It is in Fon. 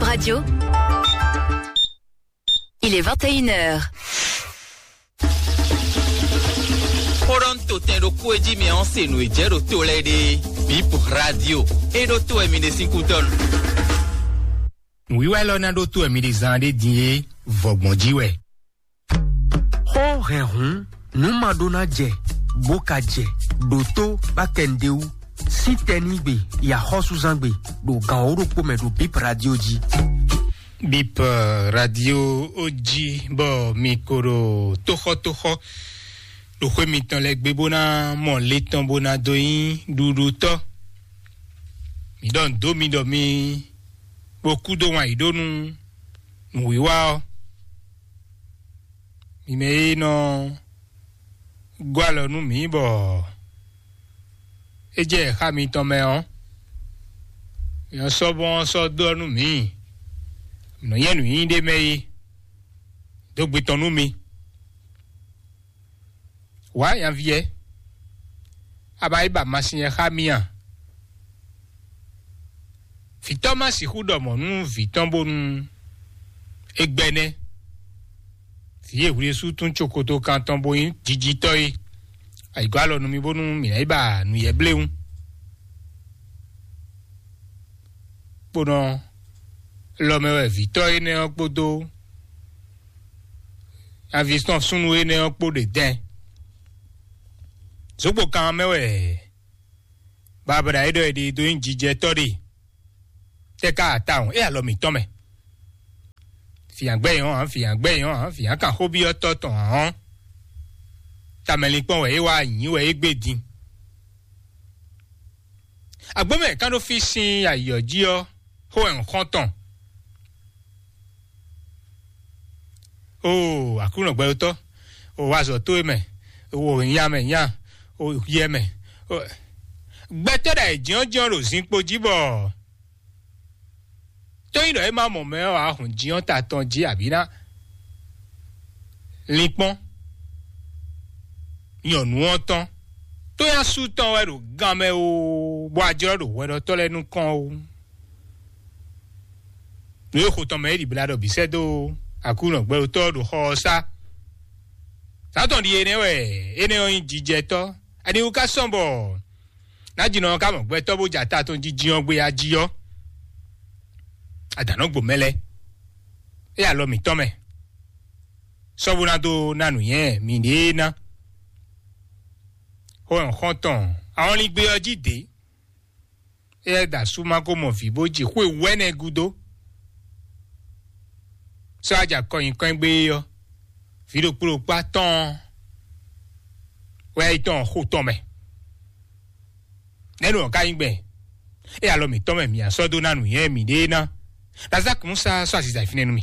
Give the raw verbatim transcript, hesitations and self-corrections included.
Radio. Il est vingt et une heures. Xó ɖɔ un to tɛn ɖokpó e jí mɛ ɔ́ se nǔ e jɛ ɖo to lɛ́ɛ ɖe. Bip Radio. E ɖo to wɛ mi ɖe sín kútɔ́ nu. Nǔwiwa élɔ́ ná ɖótó wɛ mi ɖe zaan ɖé din é, vɔ̌gbɔn jí wɛ. Xó hɛn hǔn, nǔ ma ɖó ná jɛ, bó ka jɛ, ɖǒtó bá kɛ nǔɖé wú. Sín tɛnígbe, yi axɔ́súzángbe, ɖo gan wǒ ɖokpó mɛ ɖo Bip Radio jí. Bip Radio jí bɔ mi ko ɖo tóxɔ́tóxɔ́ ɖo xwé mitɔn lɛ́ɛ gbé bó ná mɔ le tɔn bó ná dó nyí ɖuɖutɔ́. Mi ɖɔ nǔ dó mi ɖɔ mi bó kú dó wǎn yǐ ɖó nú nǔwiwa ɔ́. Mi mɛ e nɔ gɔ́ alɔ nú mǐ bɔ é jɛ xá mitɔn mɛ ɔ́, mi nɔ sɔ́ bɔ́n ɔ́ sɔ́ ɖɔ nú mǐ. Mǐ nɔ nyɛ nǔnyinyí ɖé mɛ é, dó gbe tɔn nú mi. Wǎ nyaví ɛ, a ba yi ba masin ɛ xá mì a? Vǐ tɔn ma sixú ɖɔ mɔ̌ nú vǐ tɔn bónú é gbɛ́ nɛ́. Vǐ e hwlésú tún cokoto kan tɔn bó nyí jijitɔ́ é, ayǐgɔ́ alɔ nú mì bónú mǐ ná yi ba nǔyɛ́blewún. Kponɔ lɔ mɛ wɛ vǐtɔ́ énɛ́ ɔ́ kpódó nyaví tɔn súnnu énɛ́ ɔ́ kpó ɖe dɛn. Zǒgbó kan mɛ wɛ babla e ɖɔ è ɖe dó nyí jijɛtɔ́ ɖe. Tɛ́ ká atawun é alɔ mǐtɔn mɛ. Fǐnyagbɛ́ nyɔ́ ǎ, fǐnyagbɛ́ nyɔ́ ǎ, fǐnyakanxóbyɔ́tɔ́ tɔn ǎ ɔ́, tamɛlinkpɔ́n wɛ é wá nyǐ wɛ é gbé din. Agbómɛ kán ɖó fí sín ayǐ ɔ́ jí ɔ́, xó wɛ un xɔ́n tɔn. Oo, Aklúnɔ gbɛɖotɔ́, o wa azɔ̌ towe mɛ, o nya mɛ nya, o yɛ mɛ. Gbɛtɔ́ ɖo ayǐjínjɔ́n ɖo zinkpo jí bɔ tó nyí ɖɔ é má mɔ mɛ ɔ́, ahɔn jínjɔ́n ta tɔn jí abǐ ná linkpɔ́n nyɔ̌nu ɔ́ tɔn. Tó nyí asú tɔn wɛ ɖo gan mɛ oo, bɔ a jlɔ́ ɖo hwɛɖɔtɔ́ lɛ́ɛ nukɔn oo. Nǔ e xo tɔn mɛ é ɖi bla ɖɔ bǐ sɛ́ dó Aklúnɔ gbɛɖotɔ́ ɖo xɔ ɔ́ sá. Sátɔn ɖi énɛ́ wɛ, énɛ́ ɔ́ nyí jijɛtɔ́. Aniwú ka sɔ́n bɔ nájínɔ ɔ́ ka mɔ gbɛtɔ́ bó jɛ ata tɔn jijin ɔ́ gbé a jí ɔ́, adǎn nɔ gbo mɛ lɛ́ɛ, é alɔ mǐtɔn mɛ, sɔ́ bó ná dó ná nǔnywɛ́ mǐɖée ná. Xó nyɔ̌xɔ́ntɔn ahɔnlín gbé ɔ́ jí dě. Éyɛ́ da sú má ko mɔ vǐ bó ji xwe wɛ́nɛ gúdo, sɔ́ aja kɔnyinkɔn gbé é ɔ́, vǐ ɖokpó ɖokpó atɔ́ɔ́n wɛ yi tɔn xo tɔn mɛ. Nɛ̌ nɔ ká nyí gbɛn? É alɔ mǐtɔn mɛ mǐ sɔ́ dó ná nǔnywɛ́ mǐɖée ná. Lazaki Musa sɔ́ aziza fínɛ́ nú mì.